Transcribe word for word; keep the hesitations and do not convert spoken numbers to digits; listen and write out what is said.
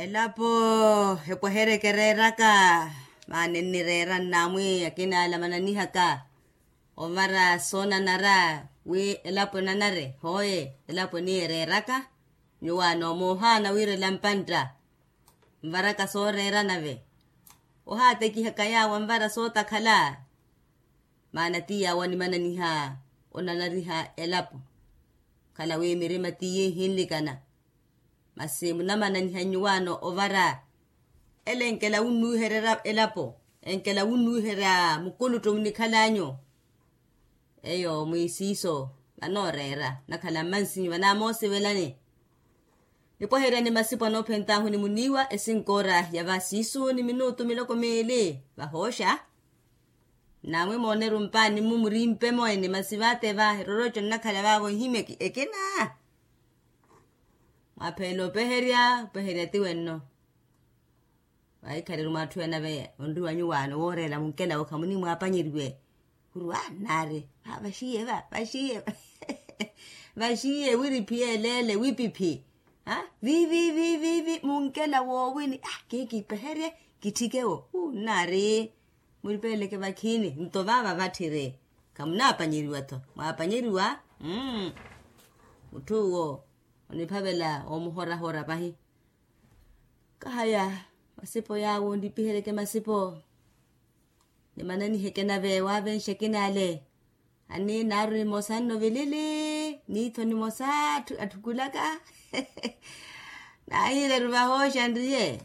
Elapo epwehereke ereeraka. Maana ennireera nnaamwi akina ale amananihaka ovara soonanara wi elapo enanare hooye. Elapo eniya ereeraka nyuwaano moohaana wiirela mpantta. Nvaraka sooreera nave ohaatekihaka yaawo anvara sootakhala. Maana ti yaawo animananiha onanariha elapo. Khala wi mirima tiye ihinlikana. Masi munamananiha nyuwaano ovara ele enkela wunnuwiherya elapo enkela wunnuwiherya mukuluttu munikhalanyu. Eyo mwiisiiso vanooreera nakhala mmansinyu vanamoosivelani. Nipwaheryani masipo anoophentaahu ni muniiwa esinkoora ya vasiisu ni minutu miloko miili vahooxa. Namwi mooneru mpaani mmu murimpe mwene masi vaate va eroroco nnakhala vaavo nhimya ekina. Mwapheela opeherya opeherya ti wenno. Vaikhaliru mwaatthuyana ve onriwa nyuwaano wooreela munkelawo khamunimwaapanyeriwe. Khurwa nnaari vaxiye va vaxiye va vaxiye wiriphi yeleele wipiphi. Vivi vivi munkela woowini kikipeherye kitthikewo hu nnaari. Muripeeleke vakhiini nto vaava vatthiri. Khamunaapanyeriwa-tho mwaapanyeriwa. Mmm. Mutth'uwo oniphavela omuhorahora pahi. Kahaya masipo yaawo nlipiheryeke masipo. Nimananiheke nave waavenxe ekina ale. Ani naaru nimosa nno vilili niitho nimosa atthukulaka. Naahiireru vahooxa nriye.